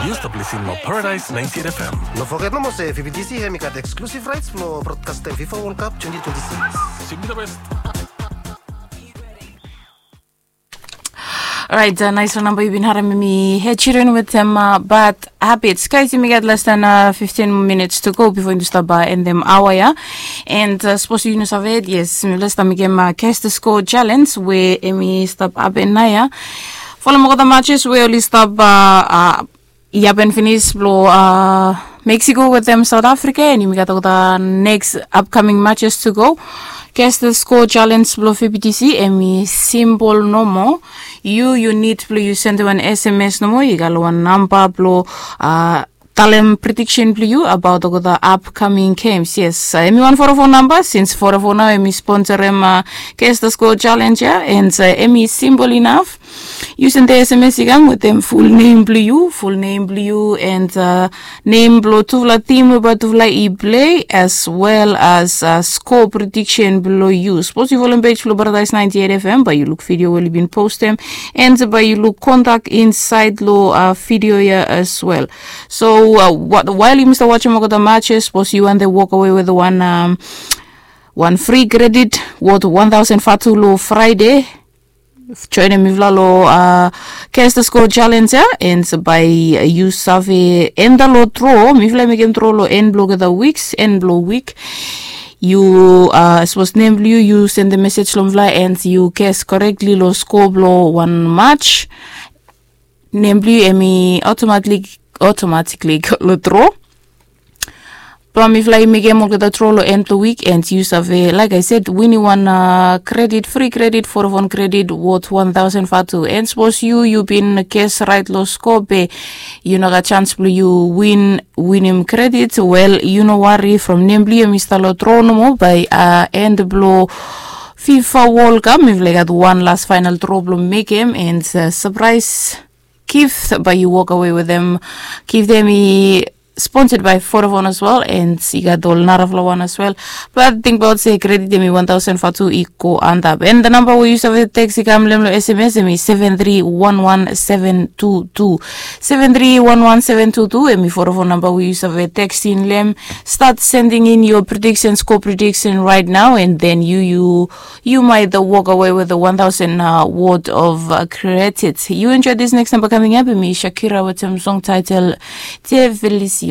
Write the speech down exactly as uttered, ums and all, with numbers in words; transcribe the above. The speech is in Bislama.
Yu stap lisin long Paradise ninety-eight F M. No foget nomo se V B T C hemi gat exclusive rights blong broadcastem FIFA World Cup twenty twenty-six. Simply the best. Orait, nais wan namba yu bin harim mi, Ed Sheeran wetem Bad Habits. Guys, yumi gat less than fifteen minutes to go before yumi stap endem aoa ya. And sapos yu no save, yes, mi last time mekem Guess the Score challenge we hemi stap hapen naoia. Folem olgeta matches we oli stap i hapen finis blong Mexico wetem South Africa, and yumi gat olgeta next upcoming matches to go. Guess the Score challenge blong V B T C hemi simpol nomo. Yu yu nid blong yu sendem wan S M S nomo, yu gat long wan namba blong talem prediction blong yu abaot olgeta upcoming games. Yes, hemi wan Vodafone namba, since Vodafone nao hemi sponsorem Guess the Score challenge ya, and hemi simpol inaf. Yu sendem S M S i kam wetem ful nem blong yu, ful nem blong yu, and nem blong tufala tim we bae tufala i plei, as well as score prediction blong yu. Sapos yu folem pej blong Paradise ninety-eight F M, bae yu luk video we oli bin postem, and bae yu luk kontak insaed long video ya as well. So wael yumi stap wajem olgeta matches, sapos yu wantem wokawe wetem wan wan fri kredit wot wan tausen vatu long Fraede. Joenem mifala long Guess the Score challenge ya, and bae yu save enta long dro. Mifala i mekem dro long en blong olgeta wiks, en blong wik. Yu sapos nem blong yu, yu sendem mesej long mifala, and yu guess correctly long score blong wan match, nem blong yu hemi automatically go long dro. Blong mifala i mekem olgeta dro long en blong wik, and yu save, like I said, winim wan kredit, fri kredit, Vodafone kredit wot wan tausen vatu. And sapos yu yu bin guess raet long score be yu no gat chance blong yu win, winim kredit, wel, yu no wari, from nem blong yu hemi stap long dro nomo. Bae en blong FIFA World Cup mifala i gat wan las faenal dro blong mekem, and sapraes gift bae yu wokawe wetem. Gift ya hemi sponsored by Vodafone as well, and i gat ol narafala wan as well. But tingbaot se kredit hemi wan tausen vatu i go antap. And the namba we yu save teks i kam long hem long S M S hemi seven three one one seven two two. Seven three one one seven two two hemi Vodafone namba we yu save tekstem long hem. Start sending in your prediction, score prediction right now, and then yu yu yu might walk away with a one thousand word of credit. You enjoy this next number coming up, hemi Shakira wetem song title Te Felicito.